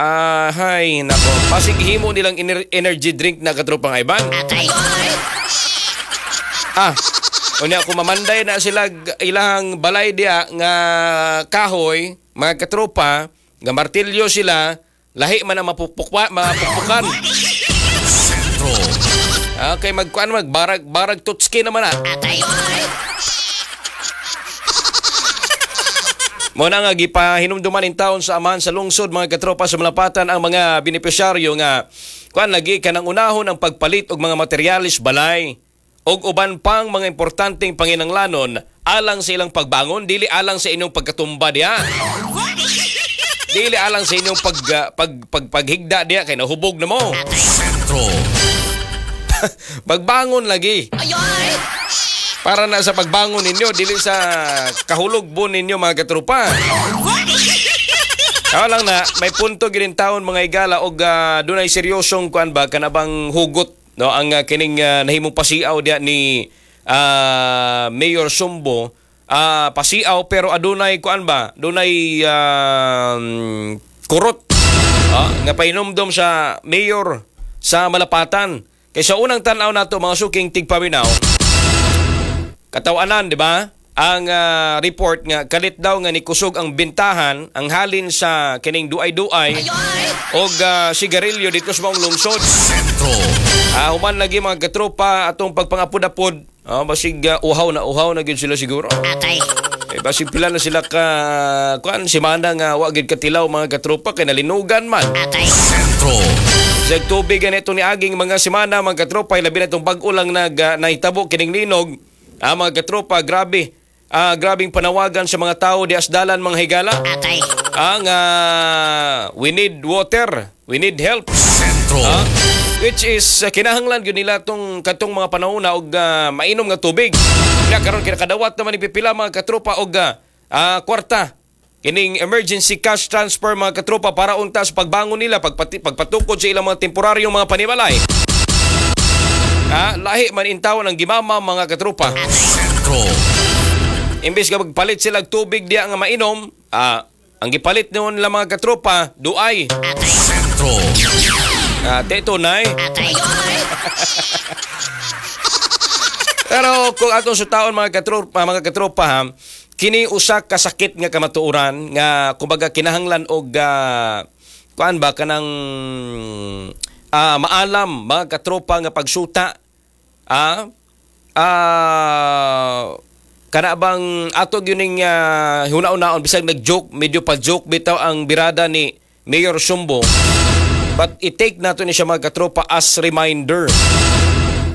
Ah, hay nako. Pasig himo nilang energy drink na, katropang Ivan. Ah, unya kung mamanday na sila ilang balay diya nga kahoy, mga katropa, nga martilyo sila, lahi man ang mapupukpan. Sentro. Okay, magkuan magbarag barag tutski naman ah. Mo na nga gipahinumduman in taon sa amahan sa lungsod, mga katropa, sa Malapatan ang mga benepisyaryo nga kuan lagi kanang unahon ang pagpalit og mga materyales balay og uban pang mga importanteng panginanglanon alang sa ilang pagbangon, dili alang sa inyong pagkatumba diha. Dili alang sa inyong pag, ah, pag, pag paghigda diha kay nahubog na mo. Sentro. Pagbangon lagi. Para na sa pagbangon ninyo, dili sa kahulog ninyo, mga katropa. Kaya lang na, may punto ginin taon, mga igala, og dunay seryosong kuan ba kanabang hugot, no, ang kining nahimong pasiaw diya ni Mayor Sumbo, pasiaw pero adunay kuan ba, dunay kurot nga pahinumdom sa mayor sa Malapatan. Kay sa unang tan-aw nato, mga suking tigpaminaw, katawanan, di ba? Ang report nga kalit daw nga ni kusog ang bintahan ang halin sa kining duay-duay og sigarilyo dito sa maong lungsod. Sentro. Human lagi, mga katropa, atong pagpangapud-apod, basig uhaw na gyud sila siguro. Eh, basig pila na sila ka kuan semana nga wa gyud katilaw, mga katropa, kay nalinugan man. Sentro. Sa tubig ganito ni aging mga semana, mga katropa, labi na itong bag-o lang nahitabo kining linog. Mga katropa, grabe. Grabing panawagan sa mga tao di asdalan, mga higala. Ang we need water, we need help. Sentro. Which is kinahanglan gyud nila tong katong mga panahon na og mainom nga tubig. Kaya karon kinakadawat naman ni pipila, mga katropa, og kwarta. Kining emergency cash transfer, mga katropa, para unta sa pagbangon nila, pagpatukod sa ilang mga temporaryong mga panimalay. Lahi man intawon ang gimama, mga katropa. Sentro. Imbes nga magpalit sila og tubig diya nga mainom, ang gipalit noon lang, mga katropa, duay. Sentro. Teto nay. Pero kung atong sutaon, mga katropa ha, kini usa ka sakit nga kamatuoran nga kumbaga kinahanglan og kuan ba kanang maalam, mga katropa, nga pagsuta, kana bang ato gyud ning huna-hunaon bisag nag-joke, medyo pa joke bitaw ang birada ni Mayor Sumbo, but i-take nato ni siya, mga katropa, as reminder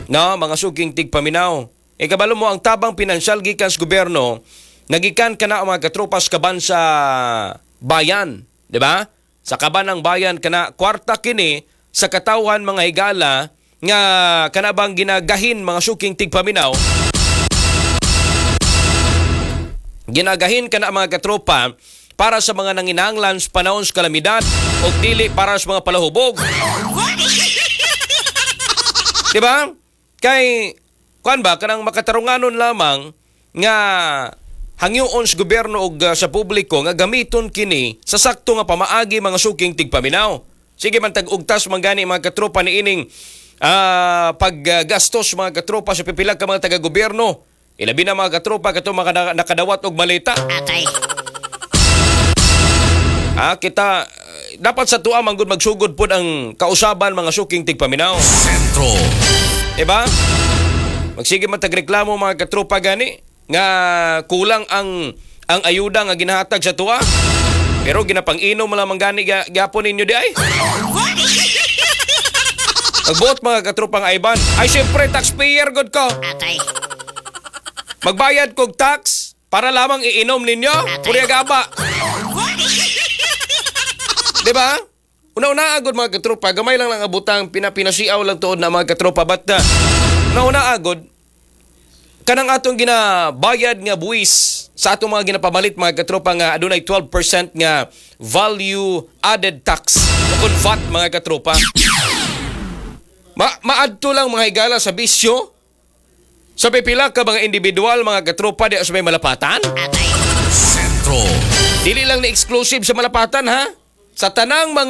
na, mga suking tigpaminaw. E kabalo mo ang tabang pinansyal gikan sa gobyerno, nagikan kana, mga katropa, sa kaban sa bayan, di ba? Sa kaban ng bayan kana kwarta kini sa katawhan, mga higala, nga kana bang ginagahin, mga suking tigpaminaw, ginagahin kana, mga katropa, para sa mga nanginahanglan sa panahon sa kalamidad o dili para sa mga palahubog. Di ba? Kay kuan ba kanang makatarunganon lamang nga hangyoon sa gobyerno og sa publiko nga gamiton kini sa sakto nga pamaagi, mga suking tigpaminaw. Sige man tag-ugtas man gani, mga katropa, ni ining paggastos, mga katropa, sa pipila ka mga taga-gobyerno. Ilabi na, mga katropa, katong mga nakadawat og malita. Kita dapat sa tuwa man gud magsugod pod ang kausaban, mga suking tigpaminaw. Sentro. Diba? Magsige man tagreklamo, mga katropa, gani nga kulang ang ayuda nga ginahatag sa tuwa. Pero ginapang-inom man lamang gani gyapon ninyo di ay. Magbuot, mga katropang Ivan. Ay siyempre taxpayer god ko. Magbayad kog tax para lamang iinom ninyo. Purya gaba. Di ba? Una-una agod, mga katropa, gamay lang lang abutang pinapinasiaw lang tuod na, mga katropa, but una-una agod kanang atong ginabayad nga buwis sa atong mga ginapamalit, mga katropa, nga adunay 12% nga value added tax o VAT, mga katropa. Maadto lang, mga higala, sa bisyo sa pipila ka mga individual, mga katropa, di sa may Malapatan. Sentro. Dili lang ni exclusive sa Malapatan ha. Sa tanang mga